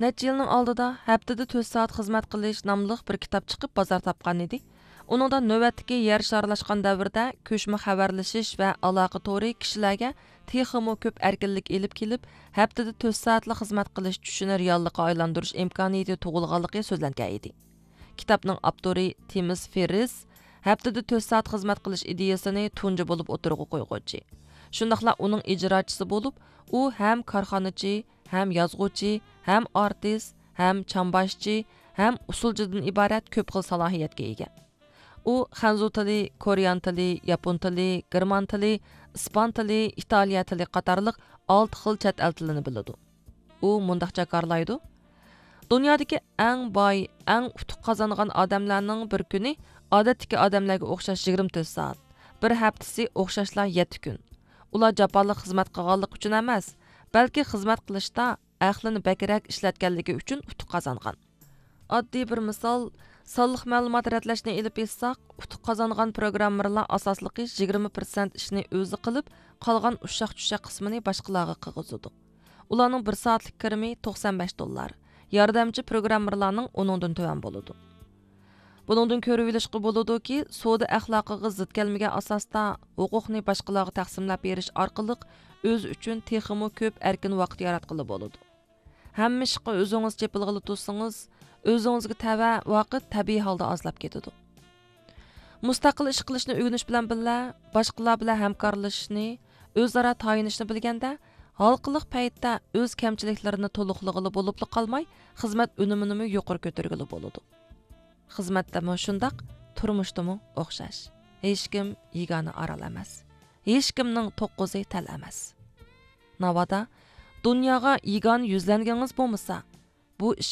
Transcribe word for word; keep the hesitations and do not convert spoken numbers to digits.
نەچچە يىلنىڭ ئالدىدا ھەپتىدە تۆت سائەت خىزمەت قىلىش ناملىق بىر كىتاب چىقىپ بازار تاپقان ئىدى. ئۇنىڭدا نۆۋەتتىكى يەر شارلاشقان دەۋردە كۆچمە خەۋەرلىشىش ۋە ئالاقە تورى كىشىلەرگە تېخىمۇ كۆپ ئەركىنلىك ئېلىپ كېلىپ، ھەپتىدە تۆت سائەتلا خىزمەت قىلىش چۈشىنى رېئاللىققا ئايلاندۇرۇش ئىمكانىيىتى تۇغۇلغانلىقى سۆزلەنگەن ئىدى. كىتابنىڭ ئاپتورى تىمس فېررىس ھەپتىدە تۆت سائەت خىزمەت قىلىش ئىدىيىسىنى تۇنجى بولۇپ ئوتتۇرىغا قويغۇچى. شۇنداقلا ئۇنىڭ ئىجراچىسى بولۇپ، ئۇ ھەم كارخانىچى، ھەم يازغۇچى، ھەم ئارتىس، ھەم چامباشچى، ھەم ئۇسسۇلچىدىن ئىبارەت كۆپ خىل سالاھىيەتكە ئىگە. ئۇ خەنزۇ تىلى، كورېيان تىلى، ياپون تىلى، گېرمان تىلى، ئىسپان تىلى، ئىتالىيە تىلى قاتارلىق ئالتە خىل چەت ئەل تىلىنى بىلىدۇ. ئۇ مۇنداق جاكارلايدۇ: دۇنيادىكى ئەڭ باي، ئەڭ ئۇتۇق قازانغان ئادەملەرنىڭ بىر كۈنى ئادەتتىكى ئادەملەرگە ئوخشاش يىگىرمە تۆت سائەت، بىر ھەپتىسى ئوخشاشلا يەتتە كۈن. ئۇلار جاپالىق خىزمەت قىلغانلىقى ئۈچۈن ئەمەس، بەلكى خىزمەت قىلىشتا ئەقلىنى بەكرەك ئىشلەتكەنلىكى ئۈچۈن ئۇتۇق قازانغان. ئاددىي بىر مىسال، سانلىق مەلۇمات رەتلەشنى ئېلىپ ئېيتساق، ئۇتۇق قازانغان پروگراممېرلار ئاساسلىقى يىگىرمە پىرسەنت ئىشنى ئۆزى قىلىپ، قالغان ئۇششاق-چۈششەك قىسمىنى باشقىلارغا قىلغۇزىدۇ. ئۇلارنىڭ بىر سائەتلىك كىرىمى توقسان بەش دوللار، ياردەمچى پروگراممېرلارنىڭ ئۇنىڭدىن تۆۋەن بولىدۇ. بۇنىڭدىن كۆرۈۋېلىشقا بولىدۇكى، سودا ئەخلاقىغا زىت كەلمىگەن ئاساستا ھوقۇقنى باشقىلارغا تەقسىملەپ بېرىش ئارقىلىق ئۆزى ئۈچۈن تېخىمۇ كۆپ ئەركىن ۋاقىت ياراتقىلى بولىدۇ. ھەممە ئىشقا ئۆزىڭىز چېپىلغىلى تۇرسىڭىز، ئۆزىڭىزگە تەۋە ۋاقىت تەبىئىي ھالدا ئازلاپ كېتىدۇ. مۇستەقىل ئىش قىلىشنى ئۆگىنىش بىلەن بىللە، باشقىلار بىلەن ھەمكارلىشىشنى، ئۆزئارا تايىنىشنى بىلگەندە، ھالقىلىق پەيتتە ئۆز كەمچىلىكلىرىنى تولۇقلىغىلى بولۇپلا قالماي، خىزمەت ئۈنۈمىنىمۇ يۇقىرى كۆتۈرگىلى بولىدۇ. خىزمەتتىمۇ شۇنداق، تۇرمۇشتىمۇ ئوخشاش. ھېچكىم يېگانە ئارال ئەمەس. ھېچكىمنىڭ توققۇزى تەل ئەمەس. ناۋادا دۇنياغا يېگانە يۈزلەنگىڭىز بولمىسا، بۇ ئىش